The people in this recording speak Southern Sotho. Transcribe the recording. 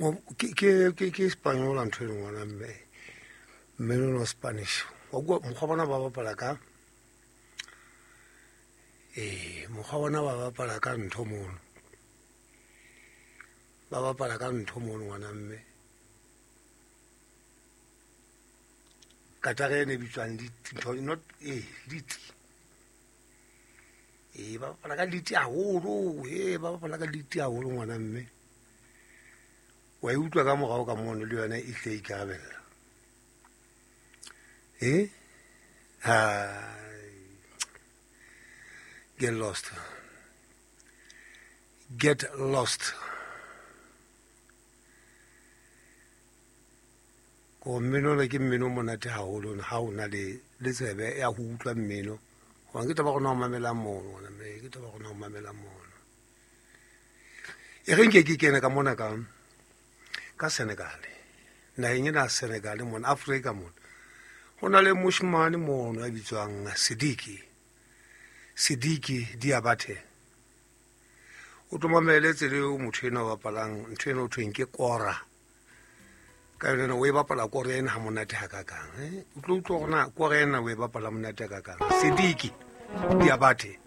Ke Spanyola ntho e leng ngwana mme mmino wa Spanish. Wa kwa mokgwa bona ba bapala ka, ee, mokgwa bona ba bapala ka ntho mono, ba bapala ka ntho mono ngwana mme. Katara ene e bitswang lead, ntho not, ee, lead. Ee, ba bapala ka lead haholo, ee, ba bapala ka lead haholo ngwana mme. Wa e utlwa ka morao ka mono le yona e hle e ikarabella. Eh? Get lost. Get lost. Ko mmino ona ke mmino o monate haholo ha o na le le tsebe ya ho utlwa mmino. Hobane ke taba rona ho mamela mono, ngwana mme, ke taba rona ho mamela mono. E re nke ke kene ka mona ka Senegal. Naheng ena ya Senegal mona, Afrika mona. Ho na le moshemane mono ya bitswang Sidiki. Sidiki Diabate. O tlo mamele tsela eo motho ena o bapalang ntho ena o thweng ke kora. Ka yona ena o e bapala kora ena ha monate hakakang, eh? O tlo utlwa hore na kora ena o e bapala monate hakakang. Sidiki Diabate.